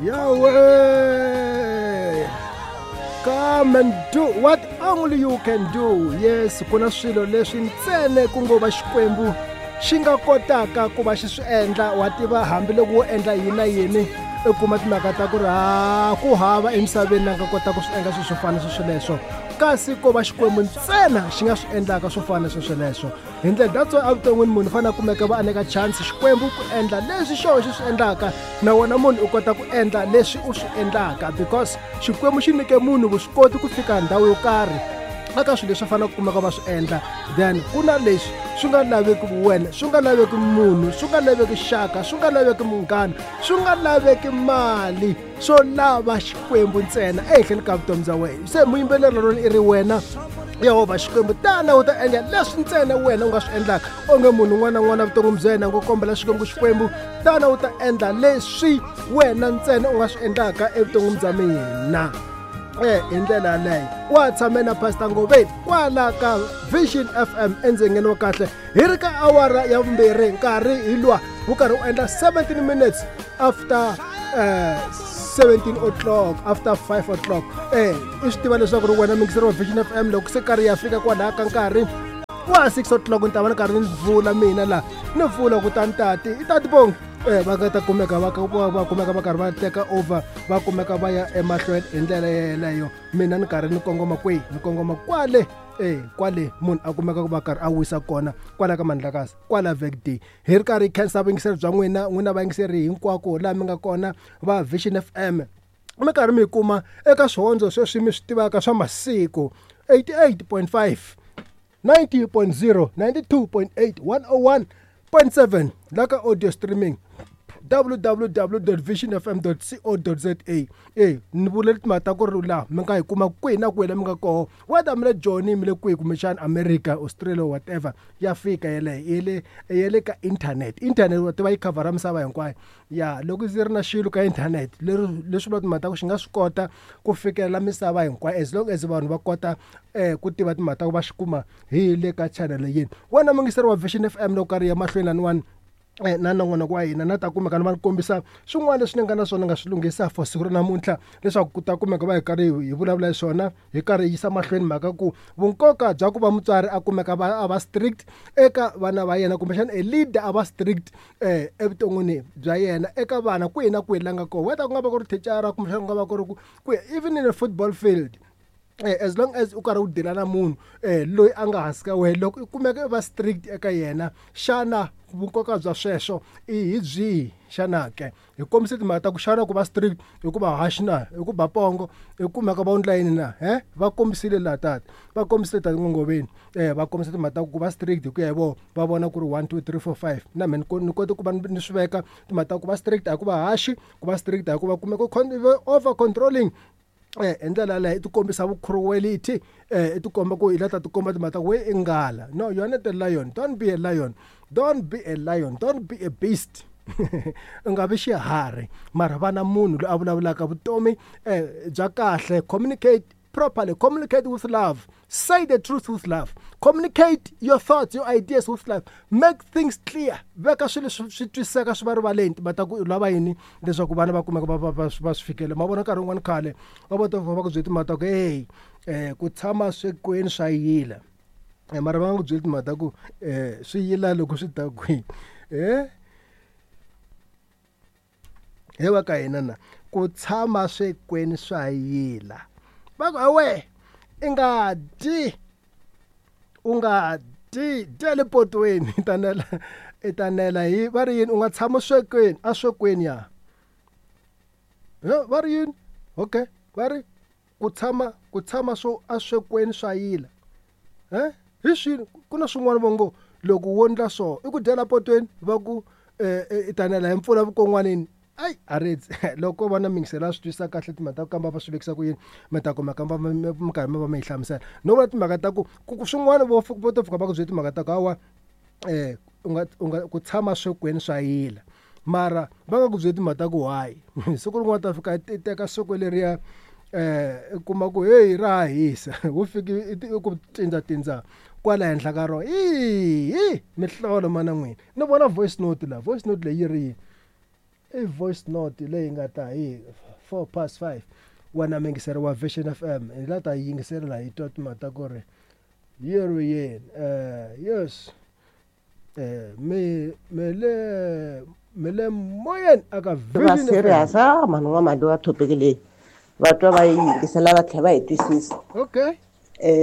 Yahweh, come and do what only you can do. Yes, ku na swilo leswi ntsena ku ngo va Xikwembu xi nga kotaka ku va xi swi endla. Wa tiva hambiloko wo endla yini na yini, u kuma timhaka ta ku ri ha ku hava emisaveni la nga kota ku swi endla swilo swo fana na sweswoleswo, kasi ko va Xikwembu ntsena xi nga swi endlaka swo fana na sweswoleswo. Hi ndlela that's why evuton'wini munhu u fanele a kumeka va a nyika chance Xikwembu ku endla leswi xoho xi swi endlaka, na wena munhu u kota ku endla leswi u swi endlaka, because Xikwembu xi nyike munhu vuswikoti ku fika ndhawu yo karhi eka swilo leswi faneleke ku kumeka va swi endla. Then ku na leswi swi nga laveki wena, swi nga laveki munhu, swi nga laveki xaka, swi nga laveki munghana, swi nga laveki mali, swo lava Xikwembu ntsena ehenhleni ka vutomi bya wena. Se muyimbeleri rona i ri wena Yehovha Xikwembu, tana u ta endla leswi ntsena wena u nga swi endlaka. Onge munhu un'wana na un'wana vuton'wini bya yena ngo kombela Xikwembu, Xikwembu tana u ta endla leswi wena ntsena u nga swi endlaka evuton'wini bya mina. Hi ndlela yaleyo wa tshame na Pastor Ngoveni kwala ka Vision FM endzengeni wa kahle, hi ri ka awara ya vumbirhi, nkarhi hi lwa wu karhi wu endla 17 minutes after 17 o'clock, after 5 o'clock. I swi tiva leswaku ri wena mingiseri wa Vision FM, loko se karhi ya fika kwalaha ka nkarhi wa 6 o'clock, ni ta va ni karhi ni vula mina laha, ni vula kutani tati i tati bongi va nga ta kumeka va va kumeka va karhi va teka over, va kumeka va ya emahlweni hi ndlela yeleyo. Mina ni karhi ni kongoma kwihi? Ni kongoma kwale kwale munhu a kumeka ku va karhi a wisa kona, kwala ka Mandlakazi, kwala Vekday. Hi ri karhi hi khensa vuyingiseri bya n'wina, n'wina vayingiseri hinkwako laha mi nga kona va Vision FM, mi karhi mi kuma eka swihondzo sweswi mi swi tivaka swa masiku 88.5, 90.0, 92.8, 101.7, la ka audio streaming www.visionfm.co.za. Ni vule timhaka ta ku ri laha mi nga hi kuma kwihi na kwihi la mi nga koho, whether mi le Joni, mi le kwihi, kumbexana America, Australia, whatever, ya fika yeleyo ya le ka internet. Internet wa tiva yi khavhara misava hinkwayo. Ya loko ndzi ri na xilo ka internet leri leswi vula timhaka ta ku xi nga swi kota ku fikelela misava hinkwayo, as long as vanhu va kota ku tiva timhaka ta ku va xi kuma hi le ka channel yini. Wena mungiseri wa Vision FM, loko karhi ya mahlweni laniwani na nongonoko wa hina, na ta kumeka ni va ni kombisa swin'wana leswi ni nga na swona nga swi lunghisa for siku ra namuntlha, leswaku ku ta kumeka va hi karhi hi vulavula hi swona, hi karhi hi yisa mahlweni mhaka ku vunkoka bya ku va mutswari a kumeka va a va strict eka vana va yena, kumbexana a leader a va strict evuton'wini bya yena eka vana kwihi na kwihi la nga kona, whether ku nga va ku ri thicara, kumbexana ku nga va ku ri ku even in a football field. As long as u karhi u deala na munhu loyi a nga hansi ka wena, loko u kumeka u va strict eka yena, xana vunkoka bya sweswo i hi byihi xana ke? Hi kombise timhaka ta ku xana ku va strict hi ku va harsh na, hi ku ba pongo, hi kumeka va endla yini na? Va kombisile laha tata, va kombisile tati Ngoveni, va kombisa timhaka ta ku va strict hi ku ya hi vona, va vona ku ri 1 2 3 4 5. Na mina ni kote ku va ni swi veka timhaka ta ku va strict a hi ku va harsh, ku va strict a hi ku va kumeka over controlling. Hi ndlela yaleyo i tikombisa vu-cruelty, i tikomba ku i la ta tikomba timhaka ta ku we i nghala. No, you are not a lion, don't be a lion, don't be a lion, don't be a beast. U nga vi xiharhi, mara va na munhu loyi a vulavulaka vutomi bya kahle. Communicate properly, communicate with love, say the truth with love, communicate your thoughts, your ideas with love, make things clear, veka swilo swi twisiseka swi va rivaleni timhaka ta ku u lava yini, leswaku vana va kumeka va swi fikela. Ma vona nkarhi wun'wani khale va vo ta va ku byela timhaka ta ku hey, ku tshama swekweni swa yila, mara va nga ku byeli timhaka ta ku swi yila loko swi ta kwihi. He wa ka hina na ku tshama swekweni swa yila, va ku awe i nga dyi, u nga dyi, dya le potweni, i ta nela, i ta nela hi va ri yini, u nga tshama swekweni, a swekweni ya va ri yini? Okay, va ri ku tshama, ku tshama swo a swekweni swa yila. Hi swini ku na swin'wana vo ngo loko wo ndla so i ku dyela potweni, va ku i ta nela hi mpfula vukon'wanini. Ai aredzi loko va na mingisela swi twisisa kahle timhaka ta ku kamba va swi vekisa ku yini, mi ta kuma kamba mi karhi mi va mi yi hlamusela. No vula timhaka ta ku swin'wana vo vo to fika va ku byela timhaka ta ku hawa u nga u nga ku tshama swekweni swa yila, mara va nga ku byeli timhaka ta ku why. Siku rin'wana ta fika i teka swekwe leriya u kuma ku hey ra hisa, wo fika i ku tindza kwala henhla ka rona, hi mihlolo mana n'wina. Ni vona voice note la, voice note leyi yi ri yini? I voice note leyi nga ta hi 5:04 wena muyingiseri wa Vision FM hi la ta yi yingiselela hi twa timhaka ta ku ri yi ri yini. Yes, mi mi le mi le moyeni aka Va Vision FM. Serious a mhani n'wamali wa topic leyi va twa va yi yingisela va tlhela va yi twisisa. Okay.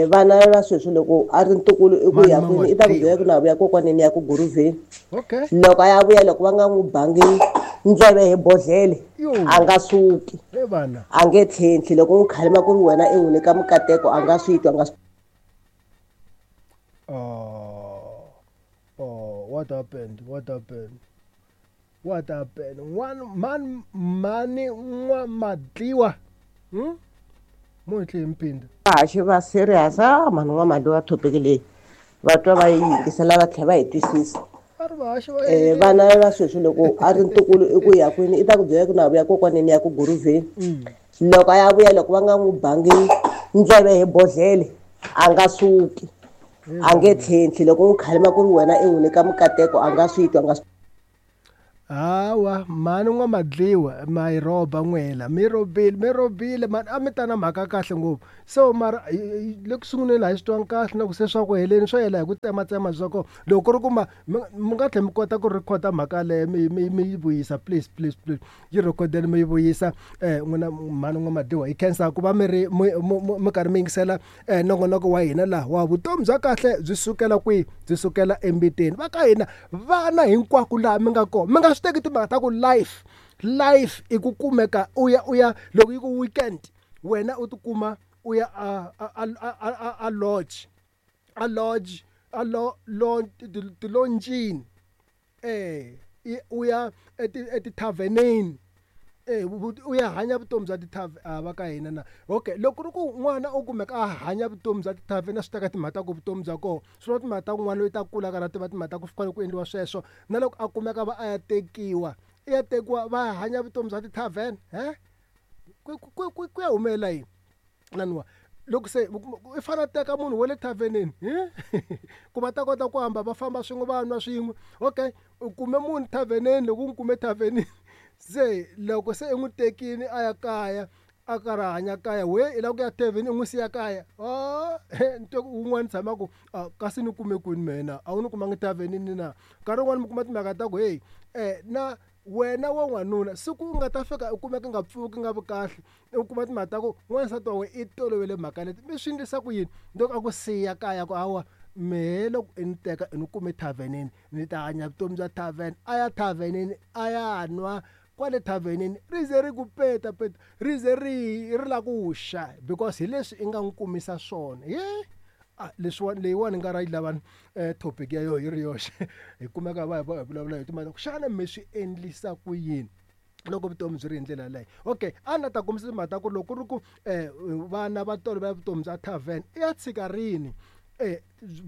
Vana va sweswi loko a ri ntukulu i ku Mani ya kwini i ta ku byela ku na vuya kokwaneni ya ku guruvheni. Okay. Loko a ya vuya loko va nga n'wi bangi ndleve hi bodlele Yo. a nga suki. He vana. A nge tlhentlhi loko n'wi khalima ku ri wena i n'wi nyika mikateko a nga swi twa a nga swi. Oh, oh, what happened? What happened? What happened? One man, mani n'wa madliwa. Mo hi tlhe hi mpinda. Vahaxi va serious a mhani n'wamali wa topic leyi va twa va yi yingisela va tlhela va yi twisisa. Va ri vahaxi va yini? Vana va sweswi loko a ri ntukulu i ku ya kwini i ta ku byela ku na vuya kokwaneni ya ku guruvheni. Loko a ya vuya loko va nga n'wi bangi ndleve hi bodlele a nga suki. A nge tlhentlhi loko n'wi khalima ku ri wena i n'wi nyika mikateko a nga swi twa a nga swi. Hawa mhani n'wa madliwa ma yi rhoba n'wela mi rhobile mi rhobile mani a mi ta na mhaka kahle ngopfu so mara le ku sunguleni a hi swi twangi kahle na ku se swa ku heleni swo hela hi ku tsematsema swa kona loko ku ri ku ma mi nga tlhela mi kota ku rhekhoda mhaka yaleyo mi yi vuyisa please please please yi rhekhodeni mi yi vuyisa n'wina mhani n'wa madliwa hi khensa ku va mi ri mi karhi mi yingisela nongonoko wa hina laha wa vutomi bya kahle byi sukela kwihi byi sukela embiteni va ka hina vana hinkwako laha mi nga kona mi nga swi teki timhaka ta ku life life i ku kumeka u ya u ya loko yi ku weekend wena u tikuma u ya a lodge a lodge a lo lo tilonjini u ya etithaveneni u ya hanya vutomi bya tithavheni va ka hina na. Okay, loko ku ri ku n'wana u kumeka a hanya vutomi bya tithavheni a swi teka timhaka ta ku vutomi bya kona swi vula timhaka ta ku n'wana loyi ta kula karhi a tiva timhaka ta ku fanele ku endliwa sweswo na loko a kumeka va a ya tekiwa i ya tekiwa va hanya vutomi bya tithavheni ku ya humelela yini naniwa loko se i fanele a teka munhu wa le thavhenini ku va ta kota ku hamba va famba swin'we va nwa swin'we. Okay, u kume munhu thavhenini loko u n'wi kume thavhenini se loko se i n'wi tekile a ya kaya a karhi a hanya kaya we i lava ku ya thavheni u n'wi siya kaya ni twa ku wun'wana tshama ku kasi ni kume kwini mehe a wu ni kumangi thavhenini na nkarhi wun'wani mi kuma timhaka ta ku hey na wena wa n'wanuna siku u nga ta fika u kumeka nga pfuki nga vi kahle u kuma timhaka ta ku n'wansati wa wena i tolovele mhaka leti mi swi endlisa ku yini loko a ku siya kaya ku hawa mehe loko i ni teka i ni kume thavhenini ni ta hanya vutomi bya thavheni a ya thavhenini a ya nwa kwale thavhenini ri ze ri ku peta peta ri ze ri ri la ku xa because hi leswi i nga n'wi kumisa swona ye leswiwani leyiwani nga ra yi lavani topic ya yona yi ri yoxe hi kumeka va hi vulavula hi timhaka ku xana mi swi endlisa ku yini loko vutomi byi ri hi ndlela yaleyo. Okay, a na ta kombisa timhaka ta ku loko ku ri ku vana va tolovela vutomi bya tavern i ya tshika rini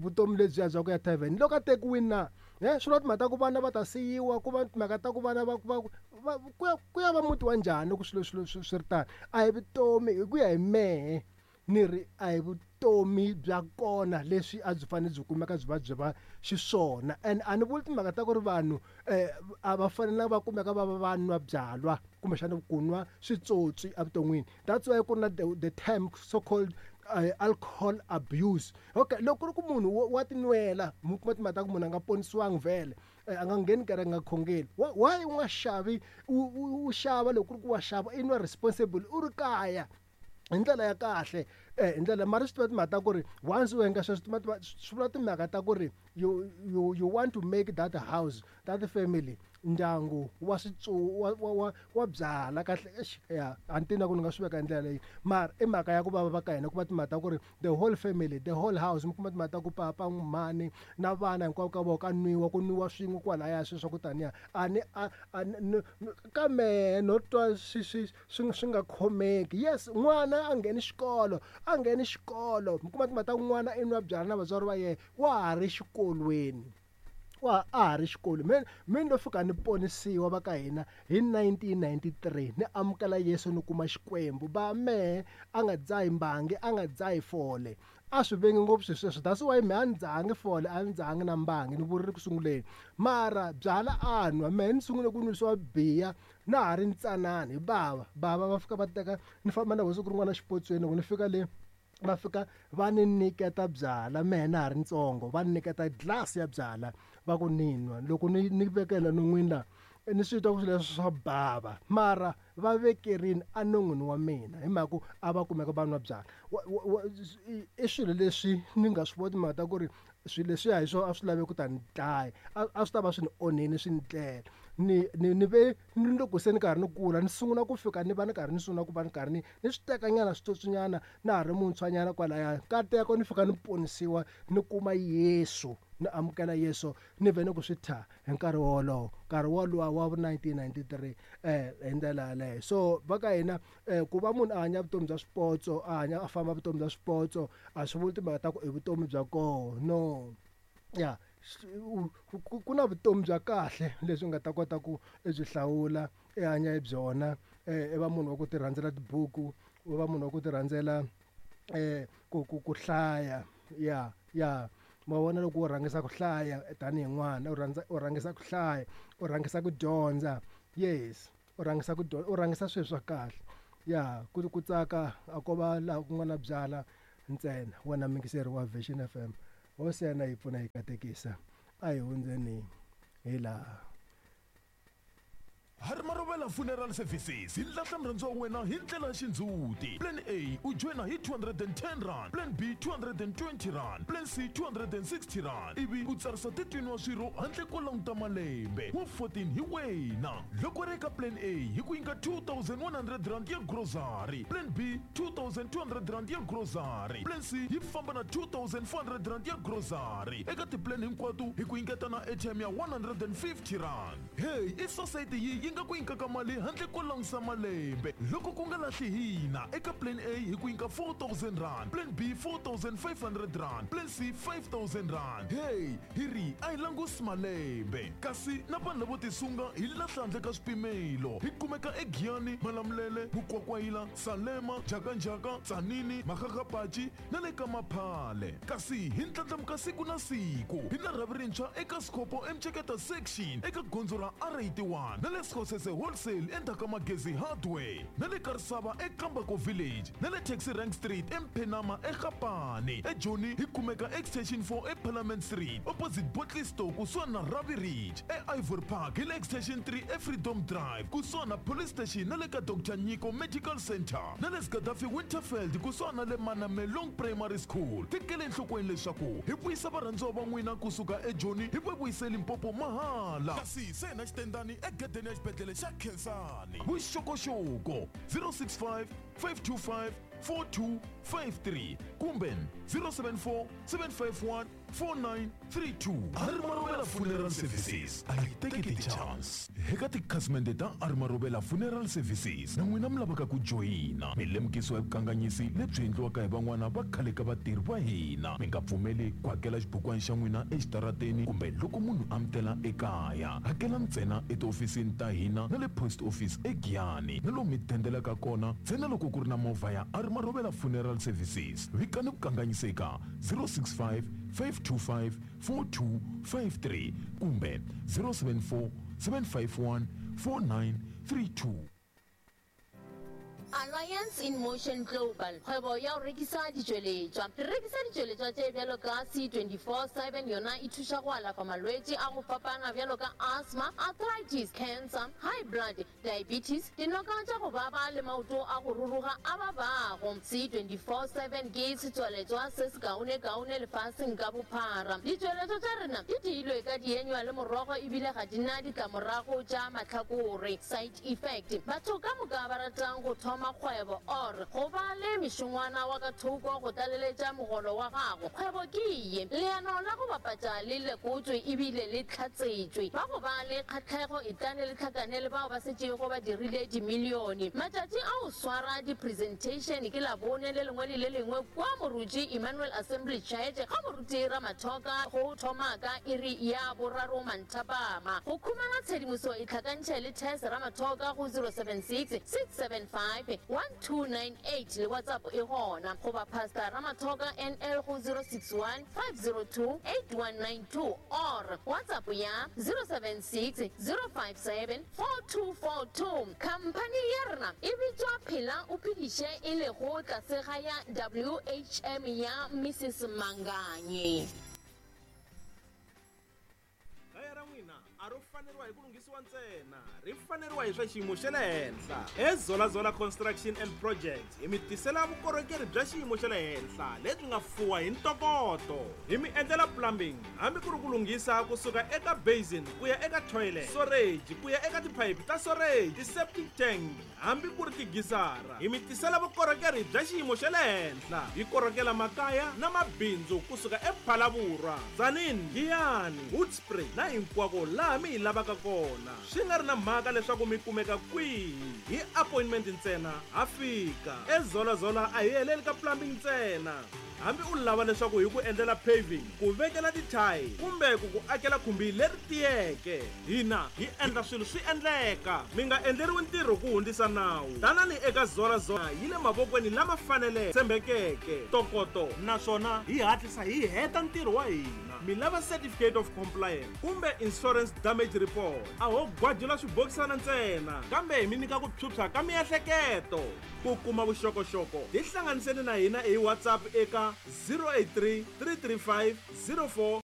vutomi lebyiya bya ku ya tavern loko a tekiwini na swi vula timhaka ta ku vana va ta siyiwa ku va timhaka ta ku vana va va va ku ya va muti wa njhani loko swilo swilo swi ri tano a hi vutomi hi ku ya hi mehe ni ri a hi vutomi bya kona leswi a byi fanele byi kumeka byi va byi va xiswona and a ni vuli timhaka ta ku ri vanhu a va fanelanga va kumeka va va va nwa byalwa kumbexana ku nwa switsotsi evuton'wini that's why ku ri na the term so called alcohol abuse. Okay, loko ku ri ku munhu wa tinwela mi kuma timhaka ta ku munhu a nga ponisiwangi vhele a nga ngheni kereke a nga khongeli why u nga xavi u xava loko ku ri ku wa xava i nwa responsible u ri kaya hi ndlela ya kahle hi ndlela mara swi tiva timhaka ta ku ri once u endla sweswo swi vula timhaka ta ku ri you want to make that house that family ndyangu wa wa wa byala kahle ya a ni tivi na ku ni nga swi veka hi ndlela leyi mara i mhaka ya ku vava va ka hina ku va timhaka ta ku ri the whole family the whole house mi kuma timhaka ta ku papa mhani na vana hinkwavo ka vona ka nwiwa ku nwiwa swin'we kwalaya sweswo swa ku taniya a ni a ni ka mehe no twa swi swi swi swi nga khomeki. Yes, n'wana a ngheni xikolo a ngheni xikolo mi kuma timhaka ta ku n'wana i nwa byala na vatswari va yena wa ha ri xikolweni. Wa a ha ri xikolo me me ni lo fika ni ponisiwa va ka hina hi 1993 ni amukela Yesu ni kuma Xikwembu ba mehe a nga dzahi mbangi a nga dzahi fole a swi vengi ngopfu swilo sweswo that's why mehe a ni dzahangi fole a ni dzahangi na mbangi ni vurile ku sunguleni mara byala a nwa mehe ni sungule ku nwisiwa biya na ha ri ntsanana hi bava bava va fika va teka ni famba na hosi ku rin'wana xipotsweni loko ni fika le va fika va ni nyiketa byala mehe na ha ri ntsongo va ni nyiketa glass ya byala va ku ni nwa loko ni ni vekela non'wini la ni swi twa ku swilo leswi swa bava mara va vekerini enon'wini wa mina hi mhaka ku a va kumeka va nwa byala i swilo leswi ni nga swi voni timhaka ta ku ri swilo leswiya hi swona a swi lave ku ta ni dlaya a swi ta va swi ni onhile swi ni tlela ni ni ni ve ni loko se ni karhi ni kula ni sungula ku fika ni va ni karhi ni sungula ku va ni karhi ni ni swi teka nyana switsotswinyana na ha ri muntshwanyana kwalaya nkateko ni fika ni ponisiwa ni kuma Yesu ni amukela Yesu ni vhe ni ku swi thya hi nkarhi wolowo nkarhi woluwa wa 1993 hi ndlela yaleyo so va ka hina ku va munhu a hanya vutomi bya swipotso a hanya a famba vutomi bya swipotso a swi vuli timhaka ta ku i vutomi bya koho no ya ku na vutomi bya kahle lebyi nga ta kota ku i byi hlawula i hanya hi byona i va munhu wa ku ti rhandzela tibuku u va munhu wa ku ti rhandzela ku ku ku hlaya ya ya ma vona loko u rhangisa ku hlaya tanihi n'wana u rhandza u rhangisa ku hlaya u rhangisa ku dyondza yes u rhangisa ku dyondza u rhangisa swilo swa kahle ya ku ku tsaka a ko va laha ku nga na byala ntsena wena muyingiseri wa Vision F_M hosi ya yena yi pfuna yi katekisa a hi hundzeni hi laha. Harimarovela Funeral Services hi lahla murhandziwa wa wena hi ndlela ya xindzhuti. Plan A u joyina hi 210 rand, Plan B 220 rand, Plan C 260 rand ivi u tsarisa 13 wa swirho handle ko languta malembe. Wa 14 hi wena. Loko ri eka Plan A hi ku nyika 2100 rand ya grocery, Plan B 2200 rand ya grocery, Plan C yi famba na 2400 rand ya grocery. Eka tiplan hinkwato hi ku nyiketa na airtime ya 150 rand. Hey, i sosayiti yi yi nga ku nyikaka mali handle ko langusa malembe loko ku nga lahli hina eka plan A hi ku nyika 4000 rand, plan B 4500 rand, plan C 5000 rand. Hey, hi ri a hi langusi malembe kasi na vanhu lavo tisunga hi lahla handle ka swipimelo. Hi kumeka eGiyani, Malamulele, Mukwakwayila, Salema, Njhakanjhaka, Tzaneen, Makgakgapachi na le ka Maphale. Kasi hi ndlandlamuka siku na siku hi na rhavi rintshwa eka Sikhopo eMceketa Section eka gondzo ra R81 na le Skhosese Wholesale endzhaku ka Magezi Hardware na le Karisava eKambako Village na le Taxi Rank Street eMphenama eGapane. EJoni hi kumeka Extension 4 eParliament Street opposite Bottle Store kusuhani na Ravi Ridge. EIvory Park hi le Extension 3 eFreedom Drive kusuhani na Police Station na le ka Dr Nyiko Medical Center na le Gaddafi Winterfeld kusuhani na le Manamelong Primary School. Tekela enhlokweni leswaku hi vuyisa varhandziwa va n'wina kusuka eJoni hi va vuyise Limpopo mahala. Kasi se na xitendani egedeni ya xibedhlele xa Khensani. Vuxokoxoko 065 525 4253 kumbe 074 751 4932. Harimarovela Funeral Services a yi teki ti-chance. Eka tikhasimende ta Harimarovela Funeral Services na n'wina mi lavaka ku joyina mi lemukisiwa hi vukanganyisi lebyi endliwaka hi van'wana va khale ka vatirhi va hina. Mi nga pfumeli ku hakela xibukwana xa n'wina exitarateni kumbe loko munhu a mi tela ekaya. Hakela ntsena etihofisini ta hina na le post office eGiyani na lomu mi dendelaka kona ntsena loko ku ri na movha ya Harimarovela Funeral Services. Vikani vukanganyisi eka 065 525 4253 kumbe 074 751 4932. Alliance in Motion Global, kgwebo ya go rekisa ditšweletšwa. Re rekisa ditšweletšwa tše bjalo ka C24/7, yona e thuša go alafa malwetši a go fapana bjalo ka asthma, arthritis, cancer, high blood, diabetes, dinoka tša go baba le maoto a go ruruga a babago. C24/7 ke setswaletšwa se sekaonekaone lefaseng ka bophara. Ditšweletšwa tša rena di diilwe ka dienywa le morogo ebile ga di na ditlamorago tša mahlakore, side effect. Batho ka moka ba ratang go thoma thoma kgwebo or go ba le mešongwana wa ka thoko go tlaleletša mogolo wa gago? Kgwebo ke ye. Leano la go bapatša le lekotšwe ebile le hlatsetšwe. Ba go ba le kgahlego etlane le hlakane le bao ba setšego ba dirile dimilione. Matšatši a go swara di-presentation ke Labone le lengwe le le lengwe kua Moruti Emmanuel Assembly Church ga Moruti Ramathoka go thoma ka iri ya boraro manthapama. Go khumana tshedimoso itlhakantšhe le Tess Ramathoka go 076 675 1298 le WhatsApp e gona goba Pastor Ramathoka NL go 061 502 8192 or WhatsApp ya 076 057 4242. Khamphani ya rena e bitšwa Phela o Phediše e lego tlase ga ya WHM ya Mrs Manganye. Kaya ra n'wina a ro faneriwa hi ku lunghisiwa ntsena, ri faneriwa hi swa xiyimo xa le henhla. EZolazola Construction and Projects hi mi tisela vukorhokeri bya xiyimo xa le henhla lebyi nga fuwa hi ntokoto. Hi mi endlela plumbing hambi ku ri ku lunghisa kusuka eka basin ku ya eka toilet, storage ku ya eka tiphayiphi ta storage, ti-septic tank hambi ku ri tigisara. Hi mi tisela vukorhokeri bya xiyimo xa le henhla. Hi korhokela makaya na mabindzu kusuka ePhalaborwa, Tzaneen, Giyani, Hoedspruit na hinkwako laha mi hi lavaka kona. Swi nga ri na mhaka leswaku mi kumeka kwihi, hi appointment ntsena ha fika. EZolazola a hi heleli ka plumbing ntsena. Hambi u lava leswaku hi ku endlela paving, ku vekela tithayi kumbe ku ku akela khumbi leri tiyeke, hina hi endla swilo swi endleka. Mi nga endleriwi ntirho ku hundzisa nawu. Tanani eka Zolazola yi le mavokweni lama faneleke, tshembekeke, ntokoto naswona hi hatlisa hi heta ntirho wa hina. Mi lava certificate of compliance kumbe insurance damage report, a ho gwajula swibokisana ntsena kambe hi mi nyika ku phyuphya ka miehleketo. Ku kuma vuxokoxoko tihlanganiseni na hina hi WhatsApp eka 083 335 04.